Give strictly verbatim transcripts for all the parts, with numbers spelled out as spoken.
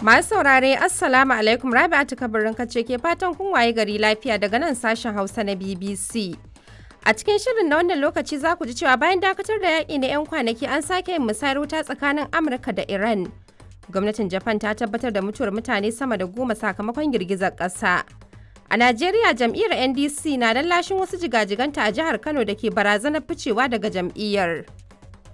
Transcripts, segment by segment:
Masu saurare, Assalamu alaikum. Rabi'atu Kabirin kace ke fatan kun waye gari lafiya daga nan sashen Hausa na B B C. A cikin shirin na wannan lokaci za ku ji cewa bayan dakatar da yaƙi na 'yan kwanaki, an sake yin musayar wuta tsakanin Amurka da Iran. Gwamnatin Japan ta tabbatar da mutuwar mutane sama da goma sakamakon girgizar ƙasa. A Najeriya, jam'iyyar N D C na lallashin wasu jigajiganta a jihar Kano da ke barazanar ficewa daga jam'iyyar.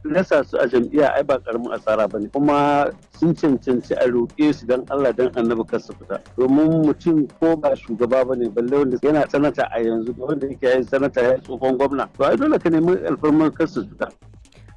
Rasa su a jam'iyya ai ba karamin asara bane, kuma sun cancanci a roƙe su don Allah don Annabi kar su fita, domin mutum ko ba shugaba bane, balle wanda yana sanata a yanzu da wanda yake yin sanata ya tsohon gwamna, to ai dole ka nemi alfarmar kar su fita.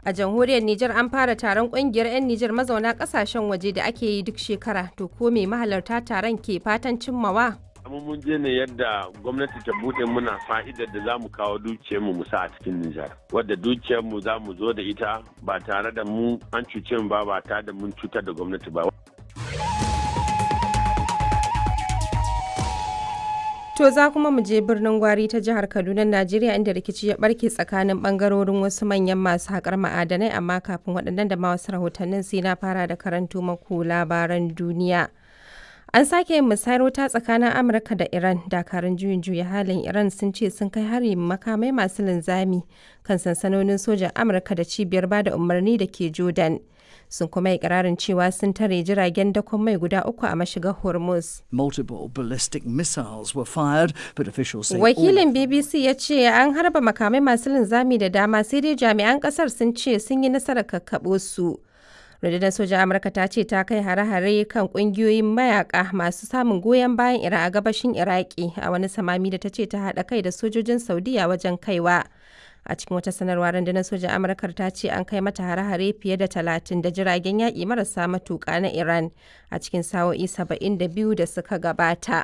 A jamhuriyar Nijar, an fara taron kungiyar 'yan Nijar mazauna kasashen waje da ake yi duk shekara. To ko me mahalarta taron ke fatan cimmawa? Amma mun je ne yadda gwamnati ta bude muna fa'idar da za mu kawo dukiyarmu mu sa a cikin Nijar. Wadda dukiyarmu za mu zo da ita ba tare da mu an cuce mu ba, ba tare da mun cutar da gwamnati ba. To za kuma mu je Birnin Gwari ta jihar Kaduna, Najeriya, inda rikici ya barke tsakanin bangarorin wasu manyan masu haƙar ma'adanai, amma kafin waɗannan da ma wasu rahotannin, sai na fara da karanto maku labaran duniya. An sake yin musayar wuta tsakanin Amurka da Iran. Dakarun juyin juya halin Iran sun ce sun kai hari makamai masu linzami kan sansanonin sojan Amurka da cibiyar bada umarni da ke Jordan. Sun kuma yi ikirarin cewa sun tare jiragen dakon mai guda uku a mashigar Hormuz. Multiple ballistic missiles were fired, but officials say all Wakilin B B C ya ce an harba makamai masu linzami da dama, sai dai jami'an kasar sun ce sun yi nasarar kakkaɓo su. Rundunar sojan Amurka ta ce ta kai hare-hare kan kungiyoyin mayaka masu samun goyon bayan Iran a gabashin Iraki a wani samami da ta ce ta haɗa kai da sojojin Saudiya wajen kaiwa. A cikin wata sanarwa, rundunar sojan Amurkar ta ce an kai mata hare-hare fiye da talatin da jiragen yaƙi marasa matuƙa na Iran a cikin sa'o'i saba'in da biyu da suka gabata.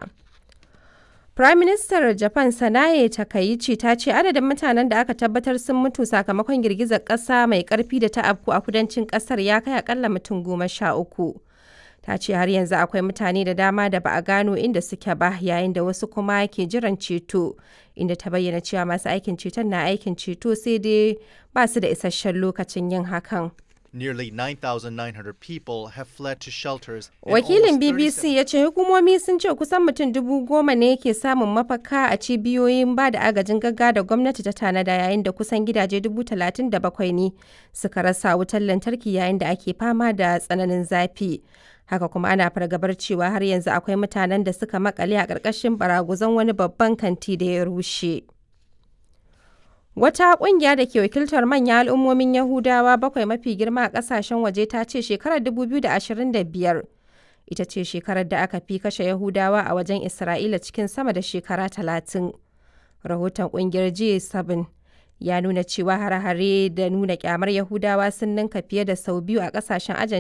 Prime Minister Japan Sanae Takaichi ta ce adadin mutanen da aka tabbatar sun mutu sakamakon girgizar ƙasa mai ƙarfi da ta afku a kudancin ƙasar ya kai akalla mutum goma sha uku. Ta ce har yanzu akwai mutane da dama da ba a gano inda suke ba, yayin da wasu kuma ke jiran ceto, inda ta bayyana cewa masu aikin ceton na aikin ceto, sai dai ba su da isasshen lokacin yin hakan. Nearly nine thousand nine hundred people have fled to shelters and Wakilin almost B B C ya ce hukumomi sun ce kusan mutum dubu goma ne ke samun mafaka a cibiyoyin ba da agajin gaggawa da gwamnati ta tanada, yayin da kusan gidaje dubu talatin da bakwai ne suka rasa wutar lantarki yayin da ake fama da tsananin zafi. Haka kuma ana fargabar cewa har yanzu akwai mutanen da suka makale a ƙarƙashin baraguzan wani babban kanti da ya rushe. Wata ƙungiya da ke wakiltar manyan al'ummomin Yahudawa bakwai mafi girma a ƙasashen waje ta ce shekarar dubu biyu da ashirin da biyar ita ce shekarar da aka fi kashe Yahudawa a wajen Isra'ila cikin sama da shekara talatin. Rahoton ƙungiyar G bakwai ya nuna cewa hare-hare da nuna kyamar Yahudawa sun ninka fiye da sau biyu a ƙasashen Argentina.